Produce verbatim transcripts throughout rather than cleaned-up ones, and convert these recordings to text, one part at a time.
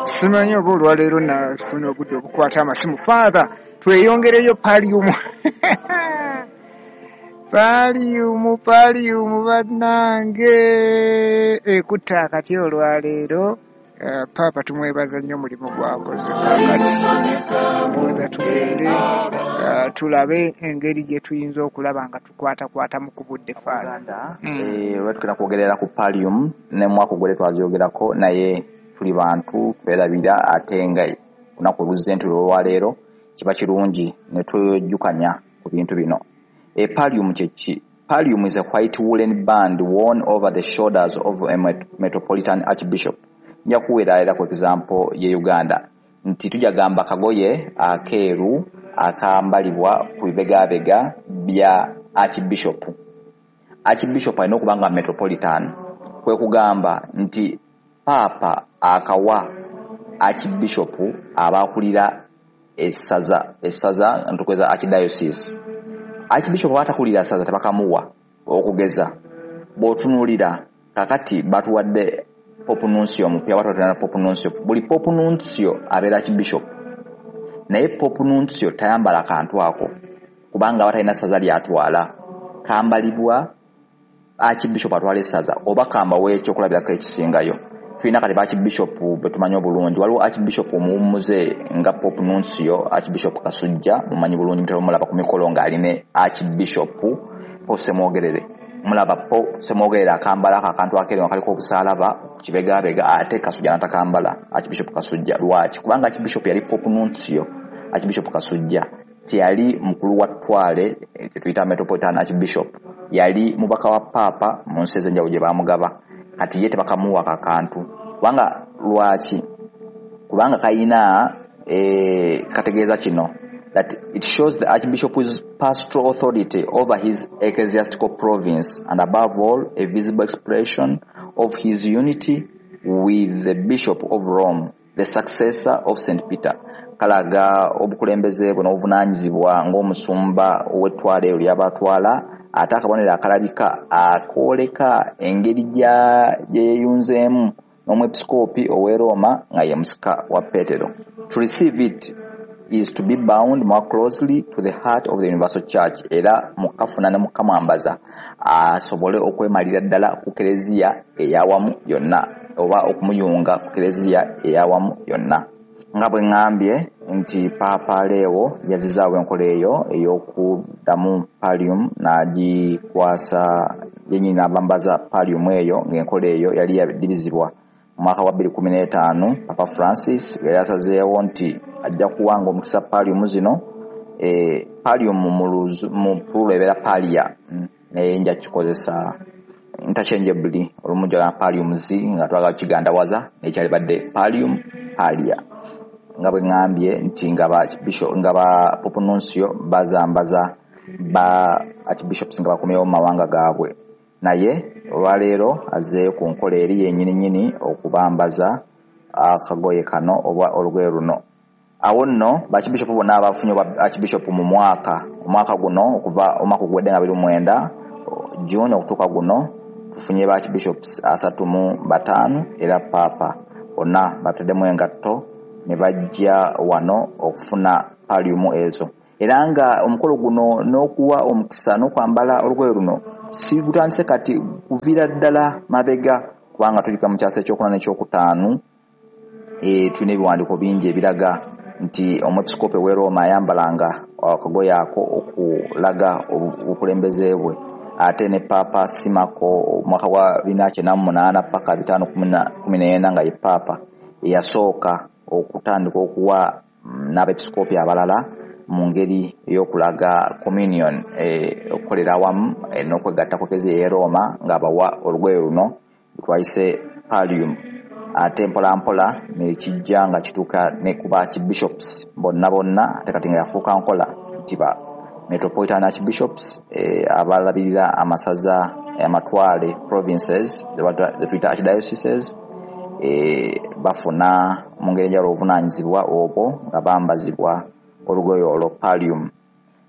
Simanyi oba olwaleero nafuna obudde obukwata amasimu. Father, tweyongereyo pallium, pallium, pallium bannange ekutta akati olwaleero. Uh, Paapa tumwebaza nnyo omulimu gwakoze. Kakati ndowooza tugende uh, tulabe engeri gye tuyinza okulaba nga tukwatakwatamu ku budde, Father. Mm. Olwa tugenda kwogerera ku pallium, ne mwaka ogwedde twazyogerako, naye tuli bantu twerabira, ate nga olunaku oluzze nti olwaleero kiba kirungi ne twejjukanya ku bintu bino. E pallium kye ki? Pallium is a white woolen band worn over the shoulders of a metropolitan archbishop. Nja kuweera era ku example ye Uganda nti tujja gamba kagoye akeeru akambalibwa ku bibegabega bya archbishop. Archbishop alina okuba nga metropolitan, kwe kugamba nti Paapa akawa archbishop abakulira essaza, essaza ntukweza archdiocese. Archbishop bw'atakulira ssaza tebakamuwa. Okugeza bw'otunuulira kakati batuwadde Pope Nuncio omupya, batuwadde Pope Nuncio. Buli Pope Nuncio abeera archbishop, naye Pope Nuncio tayambala kantu ako kubanga aba talina ssaza lyatwala, kambalibwa archbishop atwala essaza. Oba kambawo ekyokulabirako ekisingayo, tulina kati ba archbishop betumanyi obulungi. Waliwo archbishop omuwummuze nga Pope Nuncio, Archbishop Kasujja, mumanyi bulungi, mutera omulaba ku mikolo ng'aline Archbishop Paul Ssemwogerere. Mulaba Paul Ssemwogerere akambala ako akantu akeeru nga kaliko obusaalaba ku kibegabega, ate Kasujja n'atakambala. Archbishop Kasujja lwaki? Kubanga archbishop yali Pope Nuncio. Archbishop Kasujja teyali mukulu wa ttwale kyetuyita metropolitan archbishop, yali mubaka wa Paapa mu nsi ez'enjawulo gye baamugaba. Kati ye tebakamuwa kakantu kubanga lwaki? Kubanga kayina e, kategeeza kino, that it shows the archbishop's pastoral authority over his ecclesiastical province and, above all, a visible expression of his unity with the Bishop of Rome, the successor of Saint Peter. Kalaga obukulembeze bwe n'obuvunaanyizibwa ng'omusumba ow'ettwale eryo ly'abatwala, ate akabonero akalabika akooleka engeri gye yeeyunzeemu n'omwepisikoopi ow'e Roma nga ye musika wa Peetero. To receive it is to be bound more closely to the heart of the universal Church. Era mukafuna ne mukamwambaza asobole okwemalira ddala ku kereziya eyawamu yonna, oba okumuyunga ku kereziya eyawamu yonna. Nga bwe ŋŋambye nti Paapa Leo yazizaawo enkola eyo ey'okuddamu pallium n'agikwasa yennyini n'abambaza pallium eyo, ng'enkola eyo yali yadibizibwa mu mwaka wa bbiri kumi n'etaano. Papa Francis yali asazeewo nti ajja kuwanga omukisa pallium zino. E, pallium mu plural ebeera pallia, naye nja kikozesa interchangeably, olumu njagala palliums nga twagala kigandawaza, naye kyalibadde pallium, pallia. Nga bwe ŋŋambye nti nga ba bishop, nga ba Pope Nuncio bazambaza ba archbishops nga bakomyewo mu mawanga gaabwe, naye olwaleero azzeeyo ku nkola eri yennyini nnyini okubambaza akagoye kano oba olugoye luno. Awo nno ba archbishop bonna abafunye obwa archbishop mu mwaka omwaka guno, okuva omwaka oguwedde nga biri mwenda June okutuuka guno, tufunye ba archbishops asatu mu bataano, era Paapa bonna bataddemu engatto ne bajja wano okufuna pallium ezo. Era nga omukolo guno n'okuwa omukisa n'okwambala olugoye luno si gutandise kati, kuviira ddala mabega, kubanga tulika mu kyasa ekyokuna n'ekyokutaano. E, tulina ebiwandiiko bingi ebiraga nti omwepisikoopi ow'e Roma ayambalanga akagoye ako okulaga obukulembeze bwe. Ate ne Paapa Simako omwaka gwa bina kyenda mu munaana paka bitaano kumi n'ena, nga ye Paapa eyasooka okutandika okuwa n'abepisikoopi abalala mu ngeri ey'okulaga communion, okukolera awamu n'okwegatta ku Eklezia ey'e Roma, ng'abawa olugoye luno twayise pallium. Ate mpola mpola ne kijja nga kituuka ne ku ba archbishops bonna bonna, ate kati nga yafuuka nkola nti ba metropolitan archbishops abalabirira amasaza, amatwale, provinces ze tuyita archdioceses, bafuna mu ngeri enjawulo obuvunaanyizibwa obwo nga bambazibwa olugoye olwo pallium.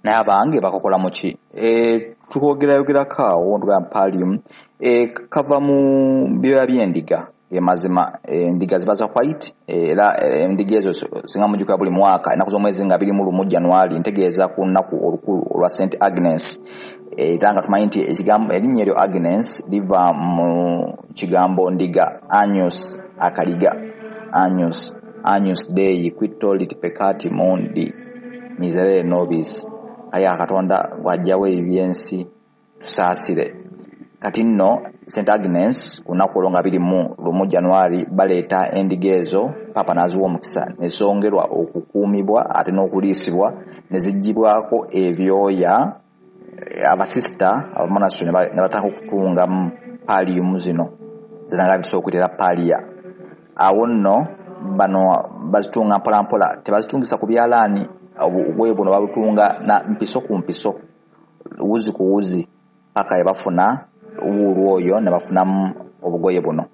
Naye abange bakokola mu ki? Tukwogerayogerako awo ntugamba pallium kava mu byoya by'endiga. Ge mazima endiga ziba za white, era endiga ezo singa mujjuka buli mwaka ennaku z'omwezi nga biri mu lumu January, ntegeeza ku lunaku olukulu olwa Saint Agnes. Era nga tumanyi nti ekigambo erinnya eryo Agnes liva mu kigambo ndiga, agnus akaliga, agnus, agnus Dei qui tollit peccati mundi miserere nobis. Ayi Katonda bw'aggyawo eby'ensi tusaasire. Kati nno Saint Agnes ku lunaku olwo nga biri mu lumu January baleeta endiga ezo, Paapa n'aziwa omukisa ne zongerwa okukuumibwa ate n'okuliisibwa ne ziggyibwako ebyoya. Abasisita abamonasitule ne batandika okutungamu pallium zino ziranga bitusobola okuyitira palia. Awo nno bano bazitunga mpola mpola, tebazitungisa ku byalaani, obugoye buno babutunga na mpiso ku mpiso, wuzi ku wuzi, paka ye bafuna wuulu oyo ne bafunamu obugoye buno.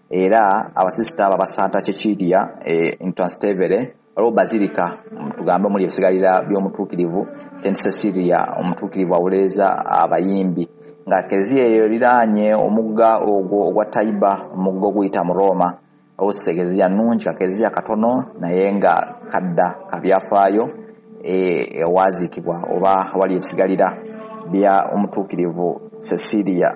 Era abasisita abo aba Santa Cecilia e, in Trastevere waliwo bazilika tugambe omuli ebisigalira by'omutuukirivu Saint Cecilia, omutuukirivu awolereza abayimbi, nga kereziya eyo eriraanye omugga ogwo ogwa Tiber, omugga oguyita mu Roma. Waliwo kereziya nnungi, kakereziya katono naye nga kadda kabyafaayo, ewaziikibwa oba awali ebisigalira bya omutuukirivu Cecilia.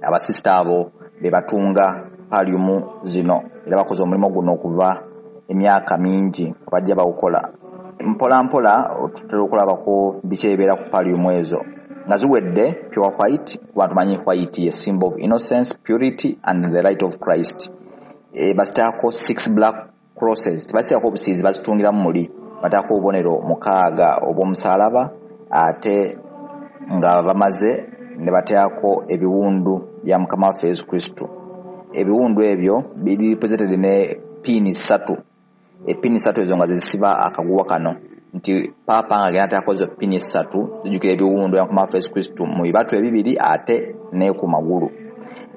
Abasisita abo be batunga pallium zino, era bakoze omulimu guno okuva emyaka mingi bajja bawukola mpola mpola. Tutera okulabako biki ebibeera ku pallium ezo nga ziwedde. Pure white, kuba tumanyi white ye symbol of innocence, purity and the light of Christ. E, bazitaako six black crosses, tebaziteekako obusiizi, bazitungiramu muli, bataako obubonero mukaaga obw'omusaalaba, ate nga bamaze ne bateekako ebiwundu bya Mukama waffe Yesu Kristo. Ebiwundu ebyo biri represented ne piini ssatu, epiini ssatu ezo nga zisiba akaguwa kano, nti Paapa nga agenda ateekako ezo piini essatu zijjukira ebiwundu bya Mukama waffe Yesu Kristo mu bibatu ebibiri ate ne ku magulu.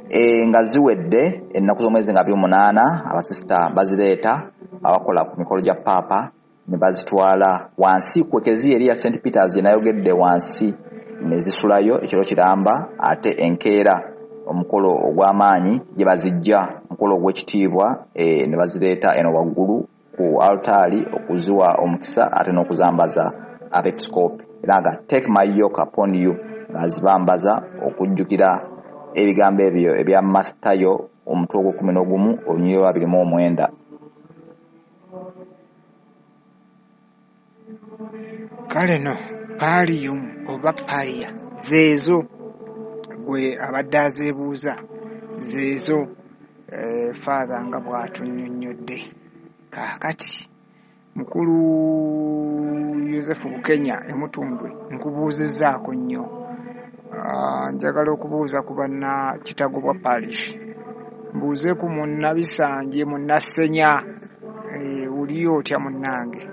E, nga ziwedde ennaku z'omwezi nga abiri munaana, abasisita bazireeta abakola ku mikolo gya Paapa ne bazitwala wansi ku ekereziya eri ya Saint Peters gye nayogedde wansi, ne zisulayo ekiro kiramba, ate enkeera omukolo ogw'amaanyi gye bazijja, omukolo ogw'ekitiibwa, e, ne bazireeta eno waggulu ku altaari okuziwa omukisa ate n'okuzambaza abepisikoopi. Era nga take my yoke upon you, ng'azibambaza okujjukira ebigambo ebyo ebya Matayo omutwe ogw'ekkumi n'ogumu olunyiriri lwa abiri mu omwenda. Kale no pallium oba palia zeezo gwe abadde azeebuuza, zeezo eh, Father nga bw'atunnyonnyodde. Kaakati mukulu Yosefu Bukenya Emutundwe nkubuuzizzaako nnyo. Uh, njagala okubuuza ku banna Kitagobwa Parish, mbuuze ku Munnabisanje Munnassenya, e, oliyo otya munnange?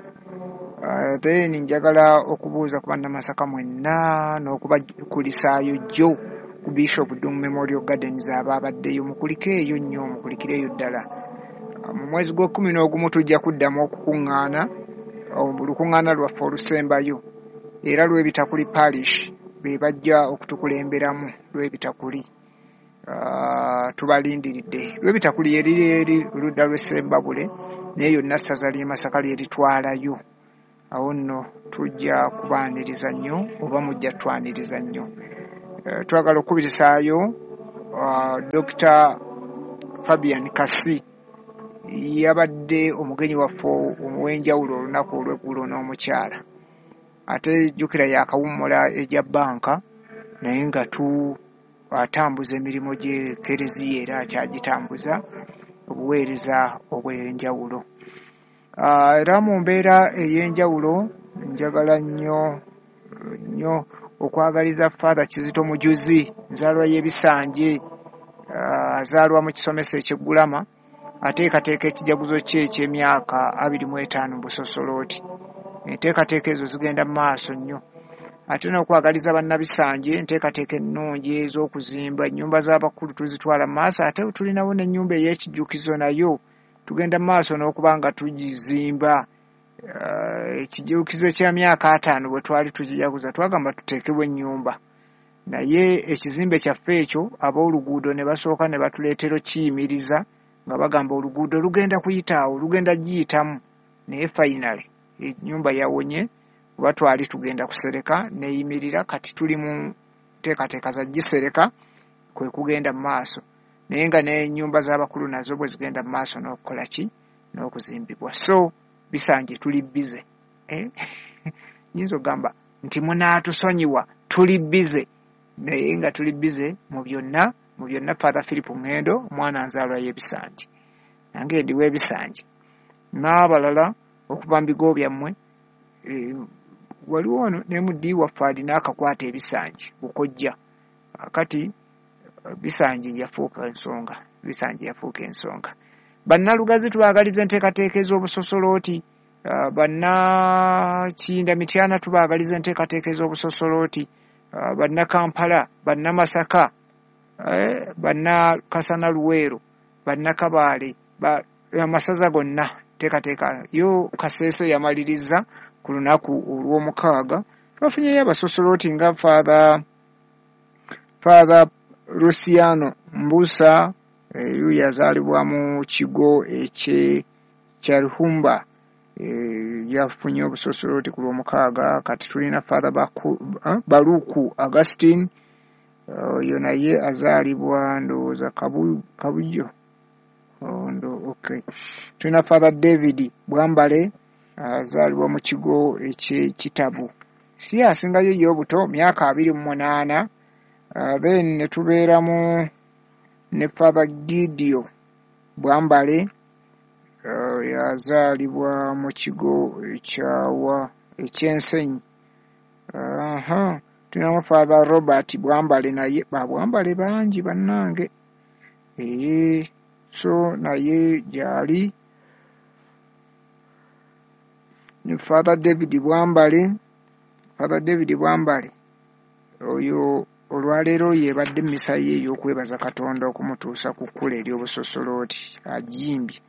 Uh, then njagala okubuuza ku bannamasaka mwenna n'okubakulisaayo jjo ku Bishop Ddungu Memorial Gardens abaabaddeyo, mukulike eyo nnyo, mukulikireeyo ddala. Uh, mu mwezi gw'ekkumi n'ogumu tujja kuddamu okukuŋŋaana, olukuŋŋaana lwaffe olusembayo, era Lwebitakuli Parish be bajja okutukulemberamu. Lwebitakuli uh, tubalindiridde. Lwebitakuli eriri eri ludda lw'Essembabule, naye yonna ssaza ly'e Masaka lyeritwalayo. Awo nno tujja kubaaniriza nnyo oba mujja twaniriza nnyo. Uh, twagala okukubirisaayo uh, Dokita Fabian Kasi, yabadde omugenyi waffe ow'enjawulo olunaku olw'eggulo n'omukyala, ate jjukira yakawummula egya bbanka, naye nga tu atambuza emirimu gy'ekereziya era akyagitambuza obuweereza obw'enjawulo. Uh, era mu mbeera ey'enjawulo njagala nnyo nnyo okwagaliza Father Kizito Mujuzi, nzaalwa y'Ebisanje, azaalwa uh, mu kisomesa eky'Eggulama, ateekateeka ekijaguzo kye eky'emyaka abiri mu etaano mu busosolooti. Enteekateeka ezo zigenda mu maaso nnyo. Ate n'okwagaliza bannabisanje enteekateeka ennungi ez'okuzimba ennyumba z'abakulu tuzitwala mu maaso, ate tulinawo n'ennyumba ey'ekijjukizo nayo tugenda mu maaso n'okuba nga tugizimba. Uh, ekijjukizo ky'emyaka ataano bwe twali tukijaguza twagamba tuteekebwe ennyumba, naye ekizimbe kyaffe ekyo ab'oluguudo ne basooka ne batuleetera okiyimiriza nga bagamba oluguudo lugenda kuyitaawo, lugenda giyitamu, naye finally ennyumba yawonye kuba twali tugenda kusereka neeyimirira. Kati tuli mu nteekateeka za gisereka kwe kugenda mu maaso, naye nga n'ennyumba z'abakulu nazo bwe zigenda mu maaso n'okukola ki n'okuzimbibwa. So Bisanje tuli busy, eh? Nyinza okugamba nti munaatusonyiwa, tuli busy, naye nga tuli busy mu byonna mu byonna. Father Philip Ngendo, omwana nzaalwa y'Ebisanje, nange ndi w'Ebisanje n'abalala okuva mu bigo byammwe. E, waliwo ono ne muddi waffe alina akakwata Ebisanje bukojja. Kati Bisanje yafuuka ensonga, Bisanje yafuuka ensonga. Bannalugazi tubaagaliza enteekateeka ez'obusosolooti, uh, Bannakiyinda Mityana tubaagaliza enteekateeka ez'obusosolooti, uh, Bannakampala, Bannamasaka, eh, Bannakasana Luweero, Bannakabaale, ba, amasaza gonna nteekateeka yo. Kaseeso yamaliriza ku lunaku olw'omukaaga. Twafunyeyo abasosolooti nga Father Father Luciano Mbusa, eyo yazaalibwa mu kigo ekye Kyaruhumba, e, yafunye obusosolooti ku lw'omukaaga. Kati tulina Father Baku, eh, Baluku Augustine, oyo naye azaalibwa ndowooza Kabu, Kabujo. Oh, ndo, okay. Tulina Father David Bwambale azaalibwa mu kigo eky'Ekitabu, si asingayo ye obuto, myaka abiri mu munaana. Uh, then ne tubeeramu ne Father Gideon Bwambale, uh, yazaalibwa mu kigo ekyawa ekyensenyi. Aha, tulinamu Father Robert Bwambale, naye ba Bwambale bangi bannange. Ee, so naye gyali ne Father David Bwambale. Father David Bwambale oyo olwaleero yebadde emmisa ye ey'okwebaza Katonda okumutuusa ku kkula ery'obusosolooti. Ajimbye,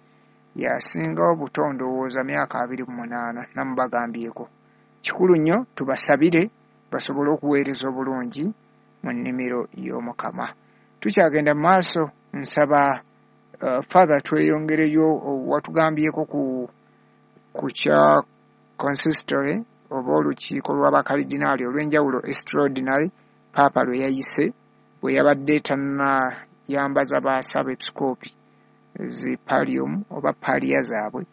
yasinga obuto ndowooza myaka abiri mu munaana, namubagambyeko. Kikulu nnyo tubasabire basobole okuweereza obulungi mu nnimiro y'Omukama. Tukyagenda mu maaso, nsaba uh, Father tweyongereyo. Watugambyeko ku ku kya consistory oba olukiiko lw'abakalidinaali olw'enjawulo extraordinary Paapa lwe yayise bwe yabadde tannayambaza baasabepisikoopi zi pallium oba palia zaabwe.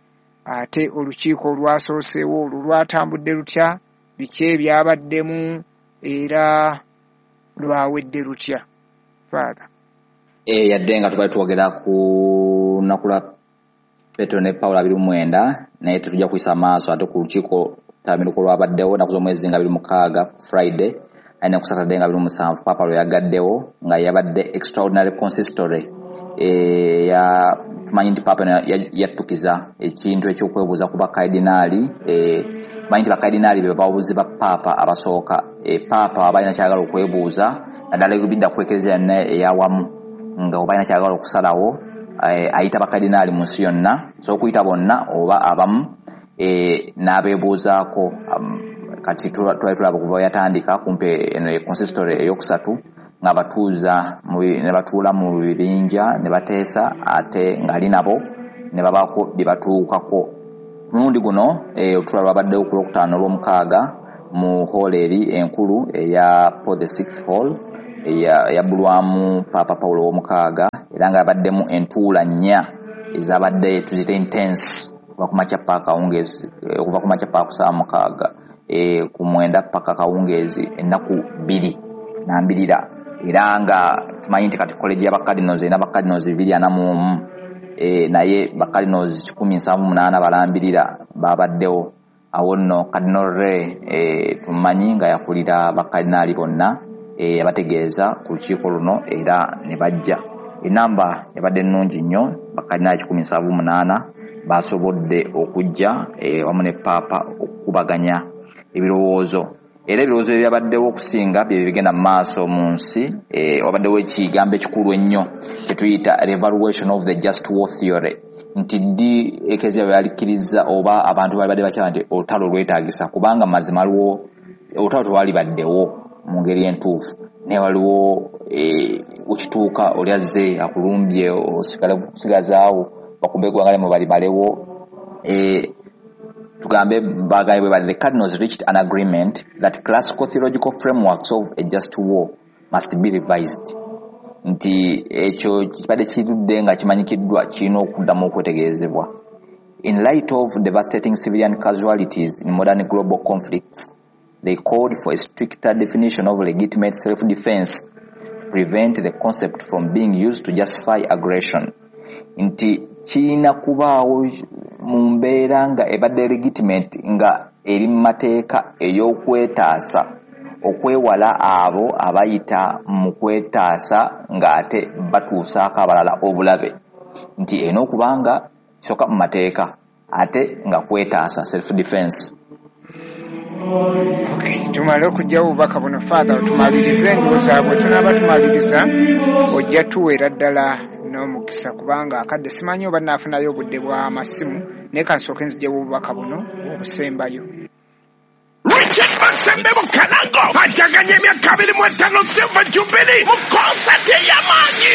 Ate olukiiko olwasooseewo olwo lwatambudde lutya, biki ebyabaddemu era lwawedde lutya, Father? E, yadde nga tubadde twogera ku lunaku lwa Petero ne Pawulo abiri mu mwenda, naye tetujja kuyisa maaso ate ku lukiiko tamiruko lwabaddewo ennaku z'omwezi nga abiri mukaaga Friday aye ne ku Saturday nga abiri mu musanvu Paapa lwe yagaddewo nga yabadde extraordinary consistory. E, ya tumanyi nti Paapa yattukiza ekintu ekyokwebuuza ku bakardinaali. E, tumanyi nti bakardinaali be babuuzi ba Paapa abasooka. E, Paapa aba alina kyagala okwebuuza naddala ebidda ku Eklezia yonna eyawamu, nga oba alina kyagala okusalawo, e, ayita bakardinaali mu nsi yonna, so okuyita bonna oba abamu, e, n'abeebuuzaako. um, kati twali tulaba okuva yatandika kumpi eno consistory eyokusatu nga batuuza ne batuula mu bibinja ne bateesa, ate ng'ali nabo ne babaako bye batuukako. Mulundi guno e, olutuula lwabaddewo ku lwokutaano olw'omukaaga mu hall eri enkulu eya Paul the Sixth Hall eyabbulwamu Paapa Paulo ow'omukaaga, era nga yabaddemu entuula nnya ezabadde tuziyite intense okuva ku makya paka kawungeezi, okuva ku makya paka ku ssaawa mukaaga, e, ku mwenda paka kawungeezi, ennaku bbiri nambirira. Era nga tumanyi nti kati college y'abakardinals erina bakardinals bibiri ana mu omu, e, naye bakardinals kikumi nsanvu munaana balambirira babaddewo. Awo nno Cardinal Re, e, tumanyi nga yakulira bakardinaali bonna, e, yabategeeza ku lukiiko luno era ne bajja. Enamba yabadde nnungi nnyo, bakardinaali kikumi nsanvu munaana basobodde okujja e, wamu ne Paapa okukubaganya ebirowoozo. Era ebirowoozo ebyabaddewo okusinga bye bigenda mu maaso mu nsi. E, wabaddewo ekigambo ekikulu ennyo kye tuyita revaluation of the just war theory, nti ddi Eklezia bwe yalikkiriza oba abantu bali badde bakyala nti olutalo lwetaagisa, kubanga mazima waliwo olutalo tewalibaddewo mu ngeri entuufu, naye waliwo Wekituuka oli azze akulumbye osigale kusigazaawo bakube eggwanga lyammwe balimalewo. Tugambe bagaye bwe bali, the cardinals reached an agreement that classical theological frameworks of a just war must be revised, nti ekyo kibadde kirudde nga kimanyikiddwa kirina okuddamu okwetegerezebwa. In light of devastating civilian casualties in modern global conflicts, they called for a stricter definition of legitimate self-defense to prevent the concept from being used to justify aggression, nti kirina kubaawo mu mbeera nga ebadde legitimate, nga eri mu mateeka ey'okwetaasa, okwewala abo abayita mu kwetaasa ng'ate batuusaako abalala obulabe, nti erina okuba nga kisooka mu mateeka ate nga kwetaasa, self defense. Okay, tumale okuggyawo obubaka buno, Father, otumalirize. Endowooza bwe tunaaba tumaliriza ojja tuweera ddala n'omukisa, kubanga akadde simanyi oba naafunayo obudde bw'amasimu, naye kansooke nzigyewo obubaka buno obusembayo. Richard Masembe Bukalango ajaganya emyaka abiri mu etaano Silver Jubilee mu konsati ey'amaanyi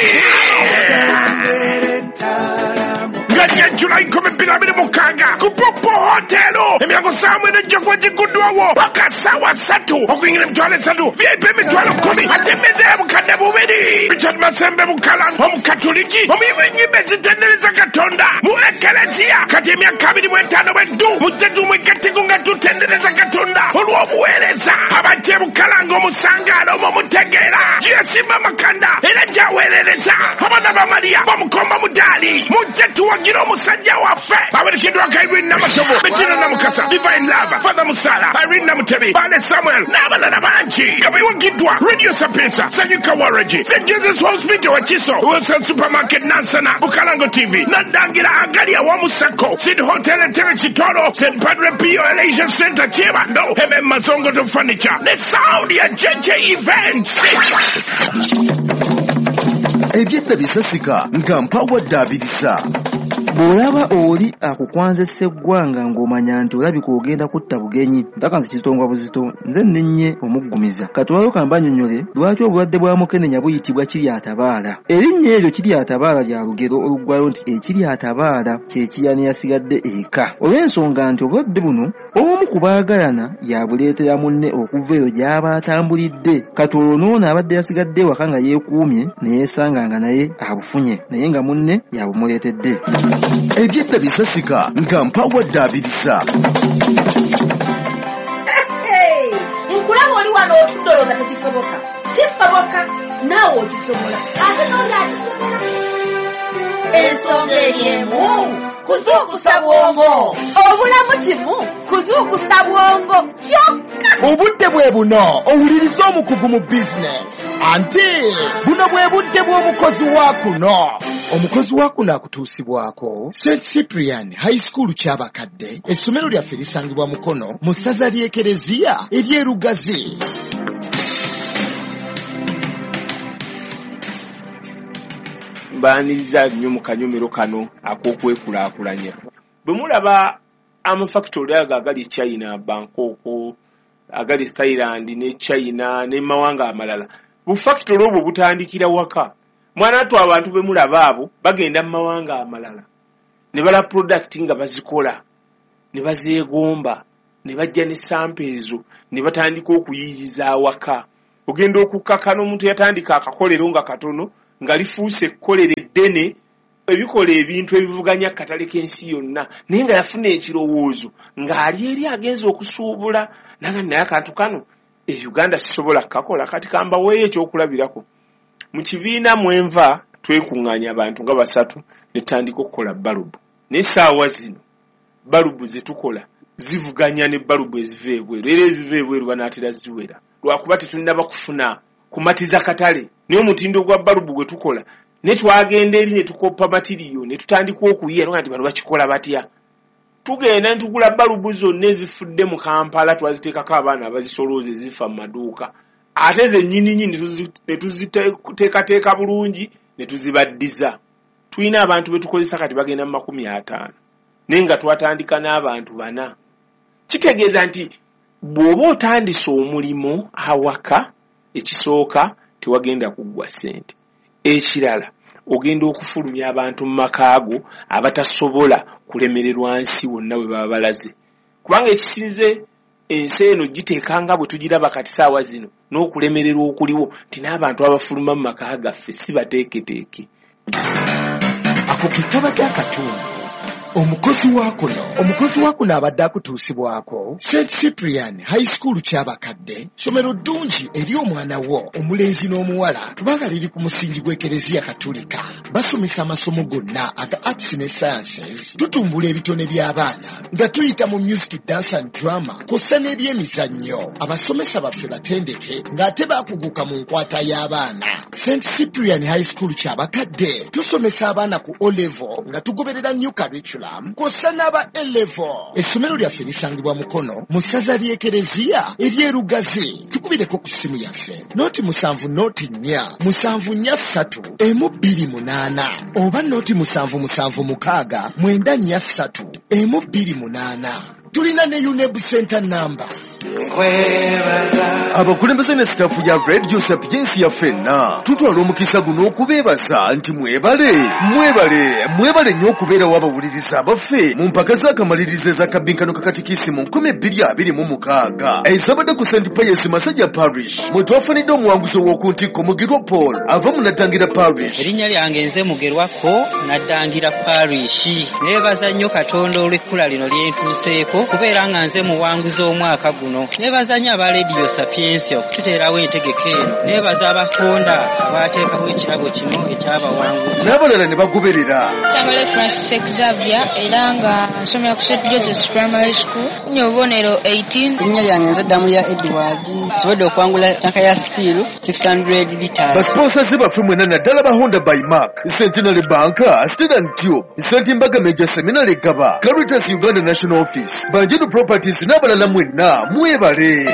nga Julai nkumi bbiri abiri mukaaga ku Popo Hotel. Emyango ssaawa mwenda ejja kuba gigguddwawo paka ssaawa ssatu. Okuyingira emitwalo esatu, V I P emitwalo kkumi, ate emmeeza ya bukadde bubiri. Richard Masembe Bukalango, omukatuliki omuyimbi w'ennyimba ezitendereza Katonda mu Ekereziya, kati emyaka abiri mu etaano bweddu mujje tumwegatteko nga tutendereza Katonda olw'obuweereza. Abajja e Bukalango omusangaalo omwo mutegeera gyeyasimba amakanda era gyaweerereza abaana ba Mariya bamukomba mudaali. Mujje tuwagire omusajja waffe. Awerekeddwako Irene Namatovu, Bettina Namukasa, Divine Love, Father Musala, Irene Namutebi, Bale Samuel n'abalala bangi, nga biwagiddwa Radio Sapientia, Sanyuka Waragi, Saint Jesus Hospital Wakiso, Wilson Supermarket Nansana, Bukalango T V, Nadangira Agali Awamusako, Sid Hotel Entebbe Kitoro, Saint Padre Pio Elijah Center Kyebando, M M Mazongoto Furniture, the sound ya J J Events. Ebyedda bisasika nga mpawadde abirisa. Bw'olaba oli akukwanzesa eggwanga ng'omanya nti olabika ogenda kutta bugenyi, ntaka nze kizitongwa buzito, nze nnennye omuggumiza. Katwalo kambanyonnyole lwaki obulwadde bwa mukenenya buyitibwa kiryatabaala. Erinnya eryo kiryatabaala lya lugero oluggwayo nti ekiryatabaala kye kirya neyasigadde eka, olw'ensonga nti obulwadde buno omu ku baagalana yabuleetera munne okuva eyo gy'aba atambulidde. Kati olwo n'ono abadde yasigadde ewaka nga yeekuumye ne yeesanga nga naye abufunye, naye nga munne yabumuleetedde. Ebyedda bisasika nga mpawadde abirisa. Nkulaba oli wano otudde olowooza tekisoboka. Kisoboka, naawe okisobola, ate n'oli akisobola. Ensonga eri emu, kuzuukusa bwongo. Obulamu kimu kuzuukusa bwongo kyokka. Obudde bwe buno owuliriza omukugu mu bizinesi, anti buno bwe budde bw'omukozi wa kuno. Omukozi wa kuno akutuusibwako Saint Cyprian High School Kyabakadde. Essomero lyaffe lisangibwa Mukono mu ssaza ly'Ekereziya ery'Erugazi. Mbaaniriza nnyo mu kanyomero kano ak'okwekulaakulanya. Bwe mulaba amafactory ago agali e China, Bangkok, agali Thailand ne China ne mawanga amalala, bufactory obwo butandikira waka. Mwana attu, abantu be mulaba abo bagenda mu mawanga amalala ne bala product nga bazikola ne bazeegomba ne bajja ne sample ezo ne batandika okuyiiyiza awaka. Ogenda okukkakana omuntu yatandika akakolero nga katono nga lifuuse ekkolero eddene ebikola ebintu ebivuganya akatale k'ensi yonna, naye nga yafuna ekirowoozo ng'ali eri agenza okusuubula naga, naye akantu kano e Uganda sisobola kukakola. Kati kambaweeyo ekyokulabirako. Mu kibiina mwenva twekuŋŋaanya abantu nga basatu ne tutandika okukola balubu, naye essaawa zino balubu ze tukola zivuganya ne balubu eziva ebweru, era eziva ebweru banaatera ziwera, lwakuba tetunnaba kufuna kumatiza katale. Naye omutindo gwa balubu gwe tukola, ne twagenda eri ne tukoppa material ne tutandika okuyiya nga nti bano bakikola batya. Tugenda ne tugula balubu zonna ezifudde mu Kampala, twaziteekako abaana abazisolooza ezifa mu maduuka, ate zennyininyini ne tuziteekateeka bulungi ne tuzibaddiza. Tulina abantu be tukozesa kati bagenda mu makumi ataano, naye nga twatandika n'abantu bana. Kitegeeza nti bw'oba otandise omulimu awaka, ekisooka Tewagenda kuggwa ssente. Ekirala, ogenda okufulumya abantu mu maka go abatasobola kulemererwa nsi wonna we baba balaze, kubanga ekisinze ensi eno giteeka nga bwe tugiraba kati saawa zino n'okulemererwa okuliwo nti n'abantu abafuluma mu maka gaffe si bateeketeeke. Ako ke kabadde akatundu omukozi wa kuno. Omukozi wa kuno abadde akutuusibwako Saint Cyprian High School Kyabakadde, ssomero ddungi eri omwana wo omulenzi n'omuwala, kubanga liri ku musingi gw'Ekereziya Katulika. Basomesa amasomo gonna aga arts ne sciences. Tutumbula ebitone by'abaana nga tuyita mu music, dance and drama, kw'ossa n'ebyemizannyo. Abasomesa baffe batendeke ng'ate baakuguka mu nkwata y'abaana. Saint Cyprian High School Kyabakadde tusomesa abaana ku O level nga tugoberera new curriculum, kw'ossa n'aba A level. Essomero lyaffe lisangibwa Mukono mu ssaza ly'Ekereziya ery'Erugazi. Tukubireko ku ssimu yaffe noti musanvu noti nnya musanvu nnya ssatu emu bbiri munaana oba noti musanvu musanvu mukaaga mwenda nnya ssatu emu bbiri munaana. Tulina ne UNEB center number. Abakulembeze ne sitaafu ya Radio Sapiensia ffenna tutwala omukisa guno okubeebaza nti mwebale, mwebale, mwebale nnyo okubeerawo abawuliriza abaffe mu mpaka z'akamalirizo ez'akabinkano kakatikisi mu nkumi bbiri abiri mu mukaaga ezabadde ku Saint Pius Masajja Parish, mwe twafunidde omuwanguzi ow'oku ntikko Mugerwa Paul ava mu Naddangira Parish. Erinnya lyange nze Mugerwako, Naddangira Parish. Neebaza nnyo Katonda olw'ekkula lino lye ntuuseeko kubeera nga nze muwanguzi omwaka guno. Neebaza nnyo aba Radio Sapiensia okututeerawo entegeka eno. Neebaza abakonda abaateekawo ekirabo kino ekyabawanguzi n'abalala ne bagoberera. Tamale Francis Xavier, era nga nsomera ku Saint Joseph's Primary School, nfunye obubonero eighteen. Erinnya lyange nze Ddamulya Edward, nsobodde okuwangula tanka ya steel six hundred liters. Basponsors baffe mwenna, naddala ba Honda by Mark, Centenary Bank, Steel and Tube, Saint Mbaga Major Seminary Gaba, Caritas Uganda National Office, Banjinu Properties n'abalala, mwenna mwebale.